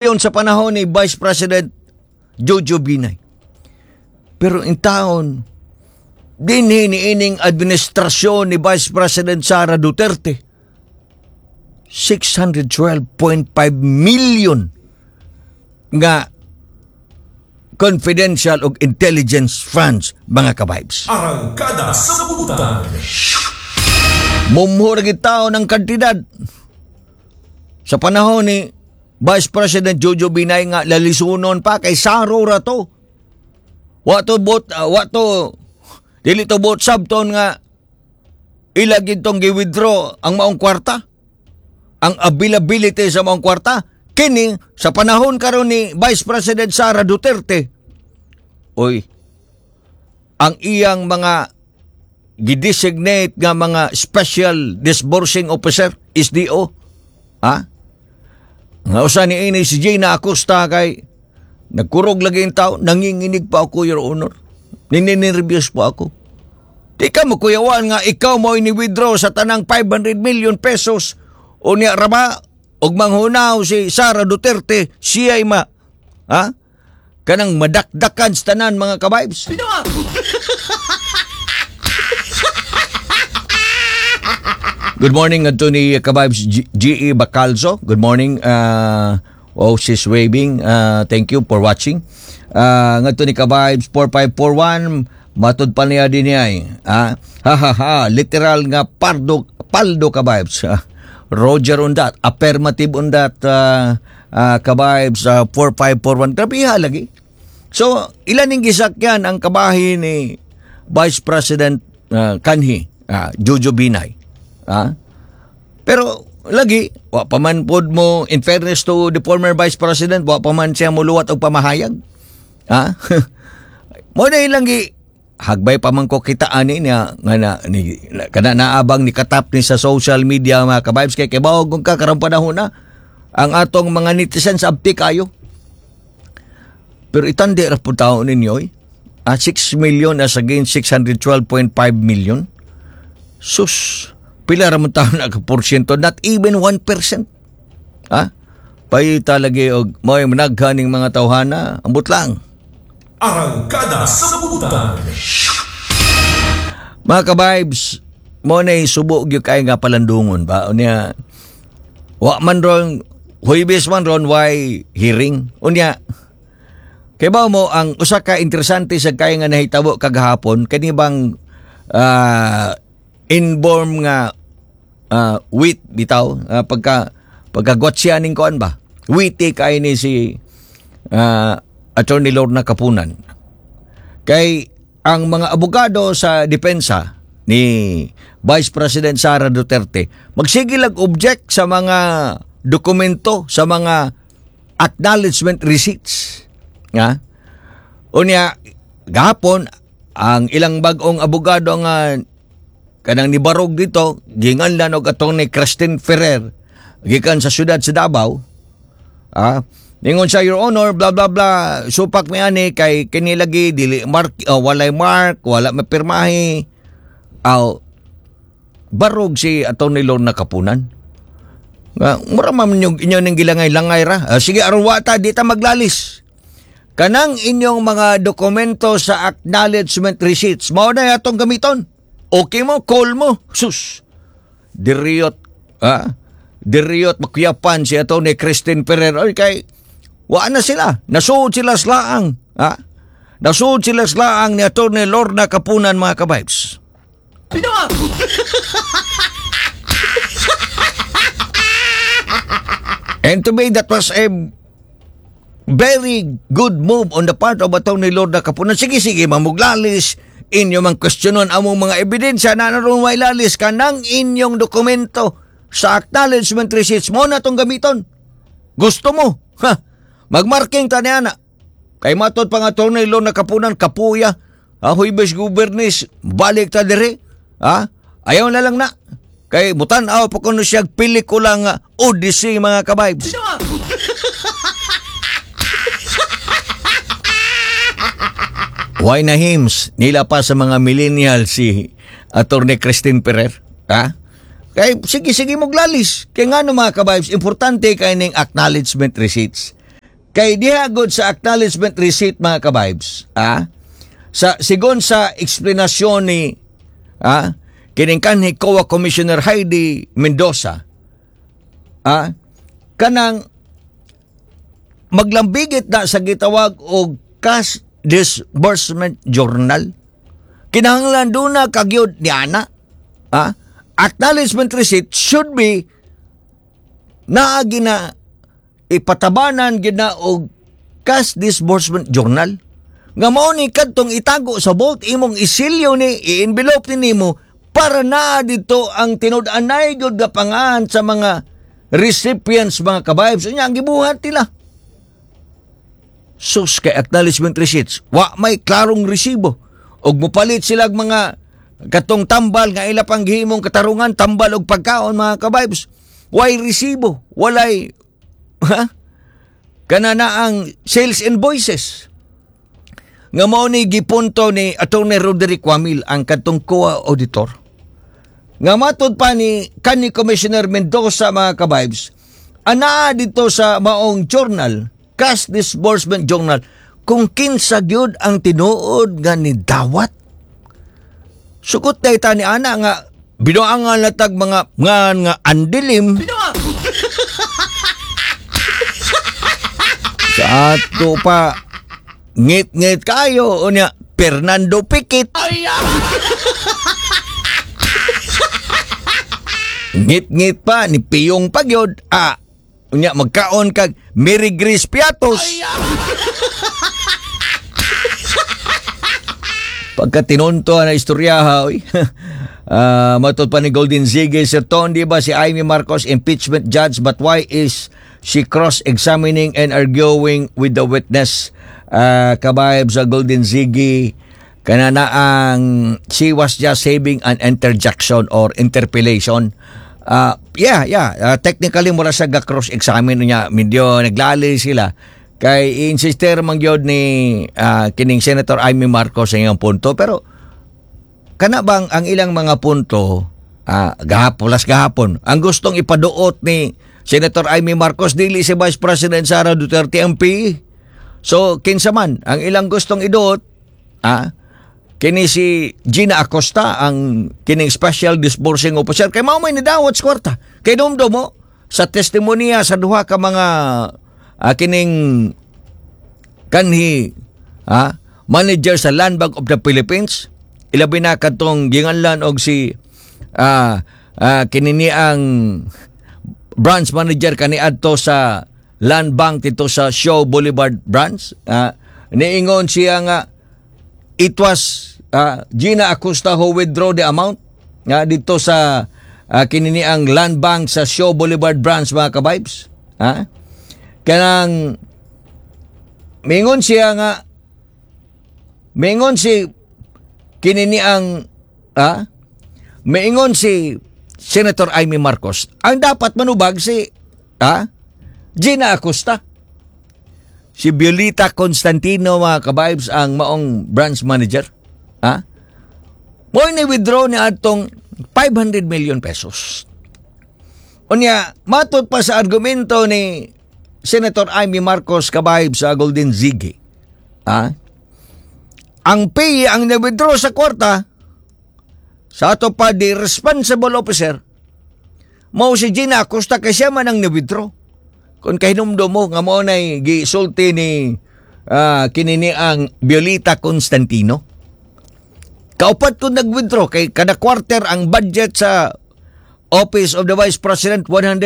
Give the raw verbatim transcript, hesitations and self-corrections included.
Sa panahon ni Vice President Jojo Binay. Pero in taon, dinhi niining administrasyon ni Vice President Sara Duterte, six hundred twelve point five million nga confidential og intelligence funds, mga ka-vibes. Arangkada sa Butan. Mumho ra gid taon ang kantidad. Sa panahon ni Vice President Jojo Binay nga lalisunon pa kay saro ra to. Wa to bot uh, wa to dili to bot sabton nga ila gid tong gi-withdraw ang maong kwarta. Ang availability sa maong kwarta kini sa panahon karon ni Vice President Sara Duterte. Oy, ang iyang mga gidesignate nga mga Special Disbursing Officer, S D O. Ha? Nga usa ni ini si Gina Acosta kay nagkurog lagi yung tao, "Nanginginig pa ako, Your Honor. Nininervyos po ako." Di ka mo kuyawan nga ikaw mo ini-withdraw sa tanang five hundred million pesos o niya raba og manghunaw si Sara Duterte siya'y ma, ha, kanang madakdakan sa tanan, mga ka-vibes. Good morning adto ni ka-vibes G- GE Bacalzo. Good morning. Uh, oh, she's waving. Uh, thank you for watching. Uh, ngadto ni ka-vibes four five four one, matud pa niya din niya eh. Ah, ha ha ha, literal nga pardo paldo, ka-vibes. Ah, Roger on that. Affirmative on that, uh, uh, ka-vibes uh, four five four one. Grabe lagi. So, ilan ning gisakyan ang kabahin ni Vice President uh, Kanhi, uh, Jojo Binay. Ah? Pero lagi, wa pa man pod mo, in fairness to the former Vice President, wa pa man siya muluwat og pamahayag. Ha? Mo na ilang gi hagbay pa man ko kita ani niya nga na, ni, kana naabang ni katap ni sa social media, mga ka-vibes, kay kay kung ka karong panahon na ang atong mga netizens abti kayo. Pero itandi ra pud tao ninyo eh. Ah, six million as against six hundred twelve point five million. Sus, pila ra man taon na porsyento, not even one percent. Ha? Payita lagi og mo'y managhaning mga tawhana, ambot lang. Arangkada sa Butan. Mga ka-vibes, mo na subo gyud kay nga palandungon ba? Unya, wa man ron, Huwebes man ron, why hearing? Unya, kay ba mo, ang usa ka interesante sa kay nga nahitabo kagahapon, kani bang ah, inborn nga uh, wit bitaw, uh, pagka pagkagwatsya ning kuan ba, witty kay ni si uh, Attorney Lorna Kapunan, kay ang mga abogado sa depensa ni Vice President Sara Duterte magsige lag object sa mga dokumento, sa mga acknowledgement receipts nga. Unya gahapon ang ilang bag-ong abogado nga kanang nibarog dito, ginganlan og Attorney Christine Ferrer gikan sa syudad sa Davao. Ah, ningon siya, "Your Honor, blah blah blah, supak mi ani kay kini lagi dili mark, uh, walay mark, wala mapirmahi." Aw, barog si Attorney Lorna Kapunan. Nga, mura man yung inyo ning gilangay-langay ra. Ah, sige, aron wa ta, di ta maglalis. Kanang inyong mga dokumento sa acknowledgement receipts, mao na atong gamiton. Okay mo, call mo. Sus. Diriyot, ah, diriyot makuyapan si Attorney Christine Ferrer. Oy, kay, wa na sila. Nasuod sila sa laang. Ha? Nasuod sila sa laang ni Attorney Lorna Kapunan, mga ka-vibes. Bitaw! And to me, that was a very good move on the part of Attorney Lorna Kapunan. Sige, sige, mamuglalis, inyo mang questionon among mga ebidensya na naroon may lalis ka ng inyong dokumento sa acknowledgement receipts mo na itong gamiton. Gusto mo? Ha? Magmarking ta niya na. Kay matod pa nga Attorney Lorna Kapunan, kapuya. Ha, Huybes Gubernis, balik ta dire. Ha? Ayaw na lang na. Kay mutan-aw pa kuno siya pelikula nga Odyssey, mga ka-vibes. Bitaw! Why na hims? Nila pa sa mga millennial si Attorney Christine Ferrer. Ha? Kay sige sige moglalis. Kay ngano, mga ka-vibes, importante kay ning acknowledgement receipts. Kay diha gud sa acknowledgement receipt, mga kabibes, ah, sa sigon sa eksplanasyon ni ah, kining kanhi C O A Commissioner Heidi Mendoza, ah, kanang maglambigit na sa gitawag og cash disbursement journal. Kinahanglan duna kagyud ni ana. Ah, acknowledgement receipt should be naagi na ipatabanan gid na og cash disbursement journal nga mao ni kadtong itago sa vault, imong isilyo ni, i-envelope ni nimo para naa dito ang tinud-anay gyud nga pangalan sa mga recipients, mga kabibes. Unya ang gibuhat nila, sus, kay acknowledgement receipts, wa may klarong resibo og mopalit sila og mga katong tambal nga ila pang gihimong katarungan, tambal og pagkaon, mga kabibes, way resibo, walay ha kana na ang sales invoices nga mao ni gipunto ni Attorney Roderick Wamil, ang kadtong C O A auditor, nga matod pa ni kanhi Commissioner Mendoza, mga kabibes, anaa dito sa maong journal, cash disbursement journal, kung kinsa gyud ang tinuod nga nidawat. Sukot na ita ni ana nga binuangan na tag mga nga nga andilim sa ato pa, ngit-ngit kayo. Unya Fernando Pikit, ngit-ngit pa ni Piyong Pagyod, ah. Unya magkaon kag Mary Grace Piatos. Pagka tinunto na istorya ha, oy. Ah, matod pa ni Golden Ziggy, "Sir Ton, di ba si Imee Marcos impeachment judge, but why is she cross-examining and arguing with the witness?" Uh, kabayab sa Golden Ziggy, kanana ang she was just saving an interjection or interpellation. Uh, yeah, yeah. Uh, technically, mura siya ga cross-examine niya. Medyo naglali sila. Kay insister man gyud ni ah, kining Senator Imee Marcos sa iyang punto. Pero kana bang ang ilang mga punto, ah, gahapon, las gahapon, ang gustong ipaduot ni Senator Imee Marcos, dili si Vice President Sara Duterte M P. So kinsa man ang ilang gustong iduot, ah, kini si Gina Acosta, ang kining special disbursing officer, kay mao may nidawat sa kwarta. Kay dumdum mo sa testimonya sa duha ka mga ah, kining kanhi ah, manager sa Land Bank of the Philippines, ilabi na kadtong ginganlan og si ah, ah, kinini ang branch manager kaniadto sa Land Bank dito sa Shaw Boulevard branch, ah, niingon siya nga it was ah, Gina Acosta who withdraw the amount nga dito sa uh, kinini ang Land Bank sa Shaw Boulevard branch, mga kabibes, ha. Kanang mingon siya nga mingon si kinini ang ah maingon si Senator Imee Marcos, ang dapat manubag si ah Gina Acosta. Si Violeta Constantino, mga kabibes, ang maong branch manager, ha, mo ni withdraw ni atong five hundred million pesos. Unya matod pa sa argumento ni Senator Imee Marcos, kabibes, sa Golden Ziggy, ha, ang P ang na-withdraw sa kwarta, sa ato pa di responsible officer mao si Gina Acosta kay siya man ang na-withdraw. Kung kahinumdum mo nga mao nay gisulti ni ah, kinini ang Violeta Constantino, kaupat kung nag-withdraw kay kada quarter ang budget sa Office of the Vice President one hundred